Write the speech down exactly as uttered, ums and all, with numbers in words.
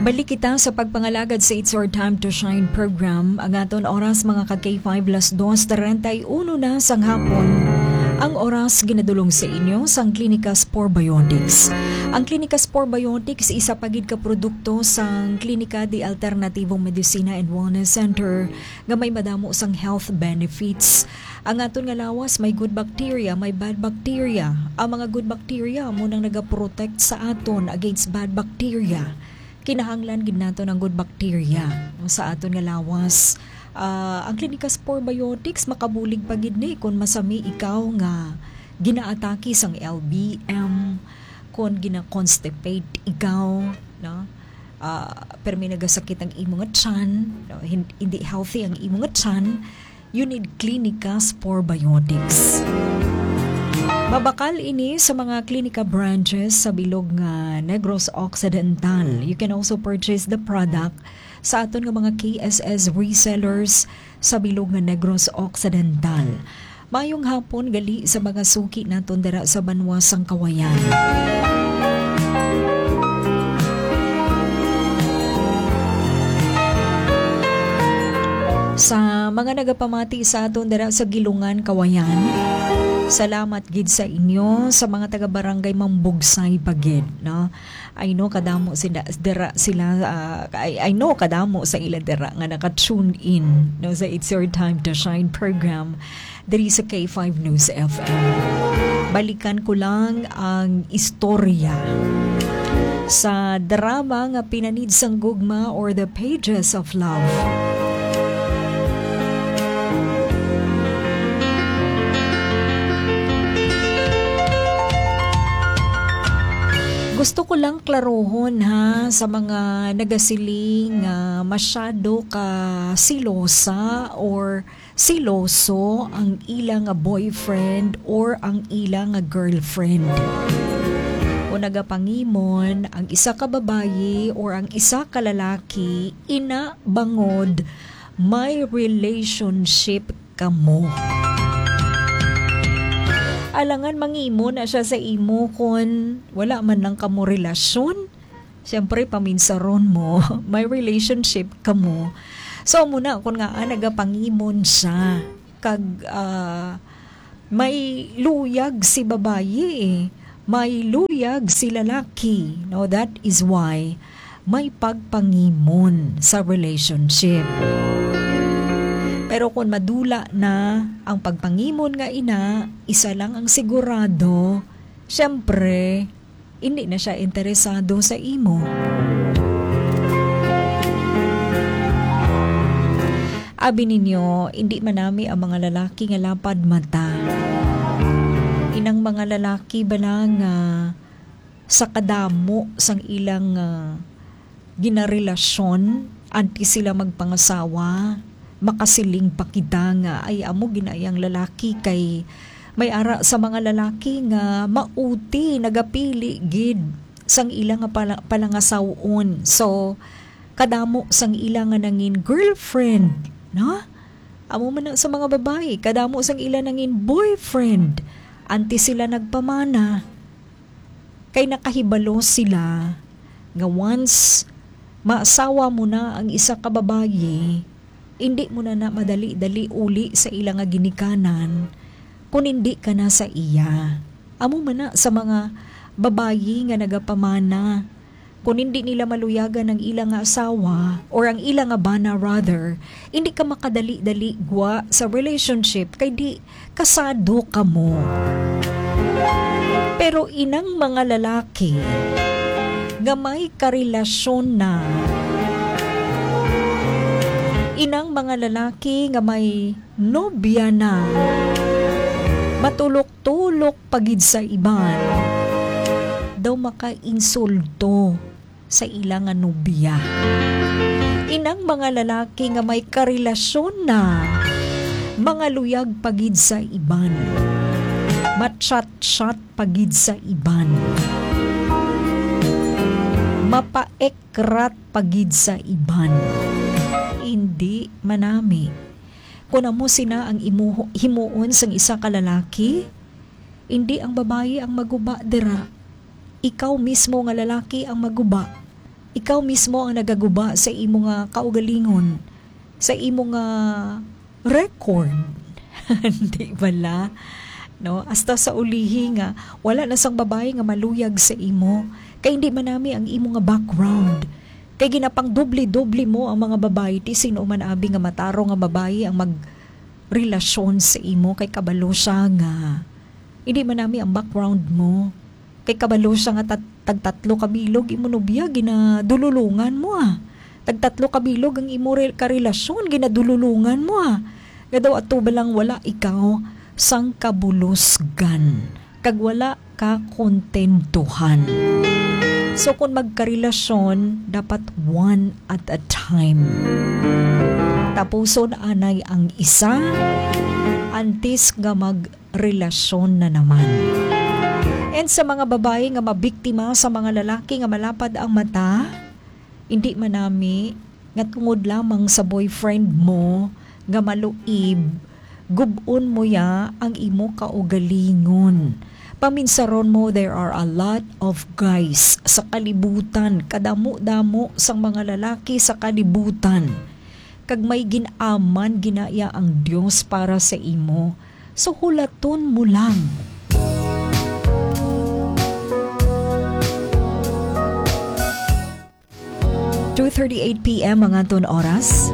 Balik kita sa pagpangalagad sa It's Your Time to Shine program. Ang aton oras, mga ka K five, las dos treinta y uno na sang hapon. Ang oras ginadulong sa inyo sang Klinika Spore Biotics. Ang Klinika Spore Biotics isa pa gid ka produkto sang Klinika de Alternativo Medicina and Wellness Center nga may madamo sang health benefits. Ang aton nga lawas may good bacteria, may bad bacteria. Ang mga good bacteria amo nang nagaprotect sa aton against bad bacteria. Kinahanglan gid naton ang good bacteria sa aton nga lawas. Ah, ang Klinika Spore Biotics makabulig pa gid ni kon masami ikaw nga ginaatake sang L B M, kon gina-constipate ikaw, no? Ah, permi nagasakit ang imo nga tiyan, no? Hin-, hindi healthy ang imo nga tiyan, you need Klinika Spore Biotics. Mabakal ini sa mga Klinika branches sa bilog nga Negros Occidental. You can also purchase the product sa aton nga mga K S S resellers sa bilog nga Negros Occidental. Mayong hapon gali sa mga suki naton dira sa banwa sang Kawayan. Sa mga nagapamati sa aton dira sa Gilungan, Kawayan, salamat gid sa inyo, sa mga taga Barangay Mambugsay pa gid, no? I know kadamo sila, dira sila, ah, I, I know kadamo sa ila dira nga naka-tune in, no, sa It's Your Time to Shine program diri sa K five News F M. Balikan ko lang ang istorya sa drama nga Pinanid sang Gugma or The Pages of Love. Gusto ko lang klarohon, ha, sa mga nagasiling nga masyado ka silosa or siloso ang ila nga boyfriend or ang ila nga girlfriend. O nagapangimon ang isa ka babayi or ang isa ka lalaki, ina bangod may relationship kamo. Alangan mangimon na siya sa imo kon wala man lang kamo relasyon. Siyempre, paminsaron mo, may relationship kamo. So, amo na, kung nga, ah, nagapangimon siya, kag, ah, may luyag si babayi, eh. May luyag si lalaki. No, that is why may pagpangimon sa relationship. Pero kung madula na ang pagpangimon nga ina, isa lang ang sigurado, siyempre, hindi na siya interesado sa imo. Abi ninyo, hindi man nami ang mga lalaki nga lapad mata. Inang mga lalaki bala nga sa kadamo sang ilang, ah, ginarelasyon, antes sila magpangasawa, makasiling pa kita nga, "Ay, amo ginayang lalaki," kay may ara sa mga lalaki nga mauti, nagapili gid sang ila nga pala-, palangasaw-on. So, kadamo sang ila nga nangin girlfriend, no? Amo man na sa mga babayi, kadamo sang ila nangin boyfriend. Antes sila nagpamana, kay nakahibalo sila nga once maasawa mo na ang isa ka babayi, indi mo na na madali-dali uli sa ila nga ginikanan, kun indi ka na sa iya. Amo man na sa mga babayi nga nagapamana, kun indi nila maluyagan ang ila nga asawa, or ang ila nga bana rather, indi ka makadali-dali gwa sa relationship, kay di kasado kamo. Pero inang mga lalaki nga may karelasyon na, inang mga lalaki nga may nobya na, matulok-tulok pa gid sa iban, daw makainsulto sa ila nga nobya. Inang mga lalaki nga may karelasyon na, mga luyag pa gid sa iban, machat-chat pa gid sa iban, mapaekrat pa gid sa iban. Hindi manami. Kun amo sina ang imo himuon sang isa ka lalaki, indi ang babayi ang maguba dira. Ikaw mismo nga lalaki ang maguba. Ikaw mismo ang nagaguba sa imo nga kaugalingon, sa imo nga record. Di bala? No? Hasta sa ulihi nga, wala na sang babayi nga maluyag sa imo. Kay hindi man nami ang imo nga background. Kay ginapangdoble-doble mo ang mga babayi, ti sino man abi nga matarong nga babayi ang magrelasyon sa imo, kay kabalo siya nga hindi man nami ang background mo. Kay kabalo siya nga tat-, tagtatlo ka bilog imo nobya ginadululungan mo, ah. Tagtatlo ka bilog ang imo re-, karelasyon ginadululungan mo, ah. Nga daw ato ba lang wala ikaw sang kabulusgan kag wala ka kontentuhan. So, kung magkarelasyon, dapat one at a time. Tapuson anay ang isa antes nga magrelasyon na naman. And sa mga babayi nga mabiktima sa mga lalaki nga malapad ang mata, hindi man nami nga tungod lamang sa boyfriend mo nga maluib, gub-on mo ya ang imo kaugalingon. Paminsaron mo, there are a lot of guys sa kalibutan, kadamo-damo sang mga lalaki sa kalibutan. Kag may gin-aman ginaya ang Dios para sa imo. So, hulaton mo lang. Two thirty-eight P M ang aton oras.